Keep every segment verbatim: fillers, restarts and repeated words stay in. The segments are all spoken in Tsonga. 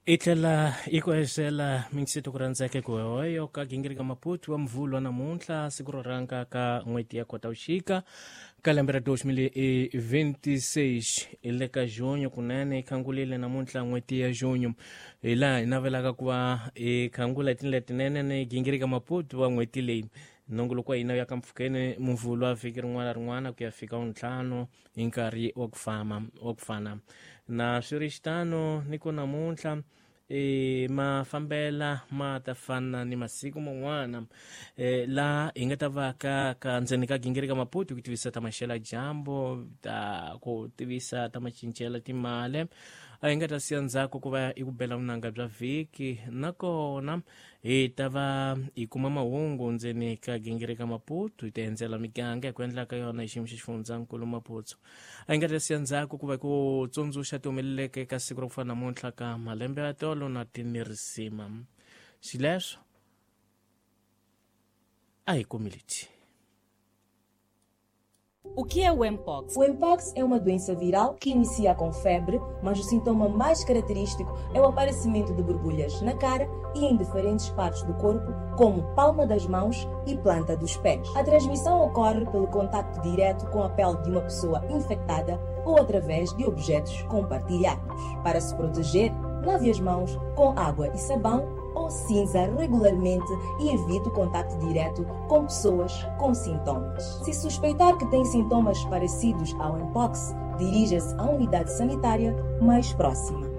I tlhela i ku hexela minxito ku rhandzeke ku hoyo ka gingirika Maputo wa Mvhulu namuntlha siku ro rhanga ka n'hweti ya Khotavuxika ka lembe ra dois mil e vinte e seis hi le ka junho kunene hi khangulile namuntlha n'hweti ya junho hi laha hi navelaka ku va hi khangula hi tindlela tinene ni gingirika Maputo wa n'hweti leyi. Nongoloko wa hina ya ka mpfhukeni Mvhulu wa vhiki rin'wana na rin'wana ku ya fika ntlhanu hi nkarhi wa ku fama wa ku fana na swi ri xitano ni ku namuntlha e mafambela ma ta fana ni masiku man'wana e la hi nga ta va ka ka ndzeni ka gingirika Maputo ku tivisa ta maxelo ya dyambu ta ku tivisa ta macincelo timali a hi nga ta siya ndzhaku ku va i ku bela vunanga bya vhiki nakona hi ta va hi kuma mahungu ndzeni ka gingirika Maputo hi ta endzela miganga hi ku endla ka yona hi xiyimo xa xifundzankulu Maputo. A hi nga ta siya ndzhaku ku va ku tsundzuxa ti humeleleke ka siku ra ku fana namuntlha ka malembe ya tolo na tinirisima xileswo a hi kumiliti. O que é o Mpox? O Mpox é uma doença viral que inicia com febre, mas o sintoma mais característico é o aparecimento de borbulhas na cara e em diferentes partes do corpo, como palma das mãos e planta dos pés. A transmissão ocorre pelo contacto direto com a pele de uma pessoa infectada ou através de objetos compartilhados. Para se proteger, lave as mãos com água e sabão ou cinza regularmente e evite o contacto direto com pessoas com sintomas. Se suspeitar que tem sintomas parecidos ao Mpox, dirija-se à unidade sanitária mais próxima.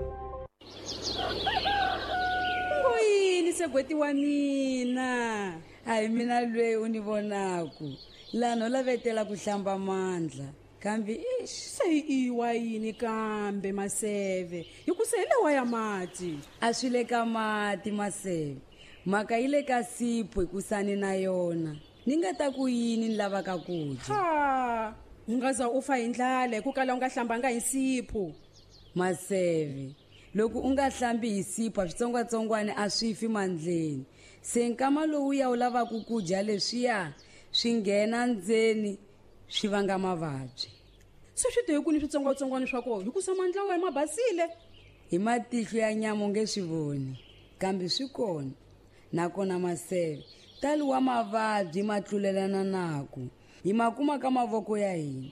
Ngoyini segweti wa mina? Hayi mina lweyi u ni vonaku lano lavetela ku hlamba mandla. Kambe ix se i wa yini kambe Maseve hi ku se hi lewa ya mati a swi le ka mati Maseve mhaka yi le ka sipho hi kusani na yona ni nga ta ku yini ni lavaka ku dya ha u nga za u fa hi ndlala hi ku kala u nga hlambanga hi sipho Maseve loko u nga hlambi hi sipho switsongwatsongwana a swi fi mandleni se nkama lowu ya u lavaka ku dya leswiya swi nghena ndzeni swi vanga mavabyi se swi te ku ni switsongwatsongwana swa kona hi ku sa mandla wa mabasile hi matihlo ya nyama u nge swi voni kambe swi kona nakona Maseve tali wa mavabyi ma tlulelana naku hi ma kuma ka mavoko ya hina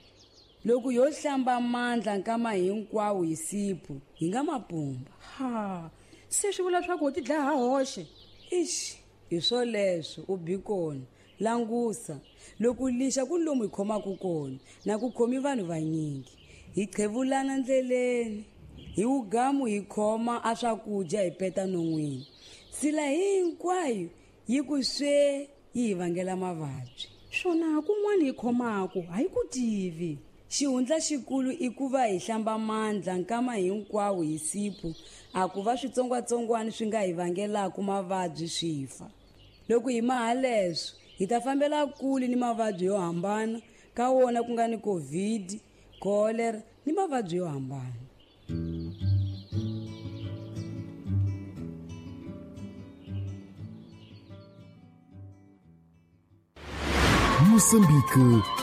loko yo hlamba mandla nkama hinkwawo hi sipho hi nga mapumba ha se swi vula swa ku u ti dlaya ha hoxe ix hi swoleswo u bi kona langusa loko lixa ku lomu hi khomaka kona na ku khomi vanhu vanyingi hi qhevulana ndleleni hi wugamu hi khoma a swakudya hi peta non'wini sila hinkwayo yi ku swe yi hi vangela mavabyi swona kun'wana hi khomaka a hi ku tivi xihundla xikulu i ku va hi hlamba mandla nkama hinkwawo hi sipho a ku va switsongwatsongwana swi nga hi vangelaka mavabyi swi fa loko hi maha leswo hi ta fambela kule ni mavabyi yo hambana ka wona ku nga ni COVID, cholera ni mavabyi yo hambana. Moçambique